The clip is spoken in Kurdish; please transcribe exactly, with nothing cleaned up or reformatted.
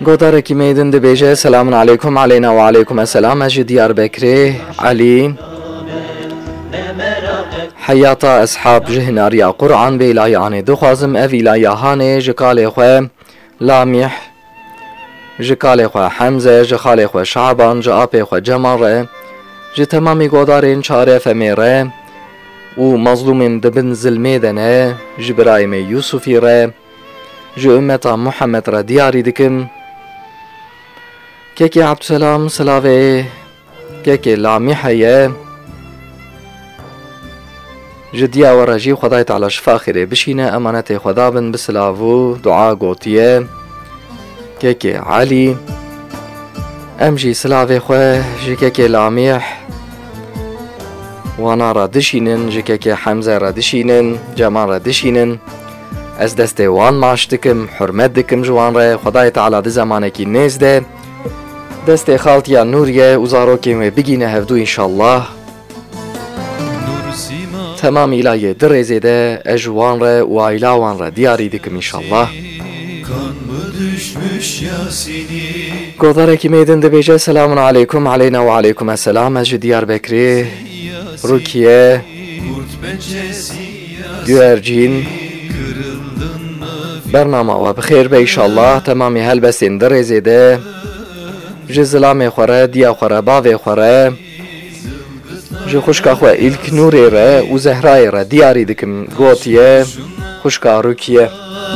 Godarekî me din dibêje, Selamun aleykum aleyna ve aleykum esselam, ez ji Diyarbekirê, Elî. Heyata eshab ji hinariya Qur'an bê îlayanê dixwazim, ev îlaya hanê ji kalê xwe Lamîh, ji kalê xwe Hemze, ji xalê xwe Şaban, ji apê xwe Cemal re, ji temamî godarên Çar F M'ê re û mazlûmên di bin zilmê de ne, ji birayê me Yûsufî re, ji ummeta Muhammed re diyarî dikim. Kekê Abdüselam silavê kekê Lamî heye. Ji diya we re jî Xwedayê Teala şifa xêrê bişîne, emanetê Xweda bin, bi silav û dua gotiye kekê Elî. Em jî silavê xwe ji kekê Lamîh wana re dişînin, ji kekê Hemze re dişînin, Cemal re dişînin. Ez destê wan maç dikim, hurmet dikim ji wan re. Xwedayê Teala di zemanekî nêz de destê xaltiya Nûriye û zarokên wê bigîne hevdû înşallah. Temam îlayê di rêzê de ez ji wan re û aîla wan re diyarî dikim înşallah. Godarekî me din dibêje, Selamun aleykum aleyna ve aleykum esselam. Ez ji Diyarbekirê, Rukiye, Güvercin. Bernama we bi xêr be înşallah. Temamî helbestên di rêzê de ji zilamê xwe re, diya xwe re, bavê xwe re, ji xwişka xwe Îlknûrê re û Zehrayê re diyarî dikim, gotiye xwişka Rukiye.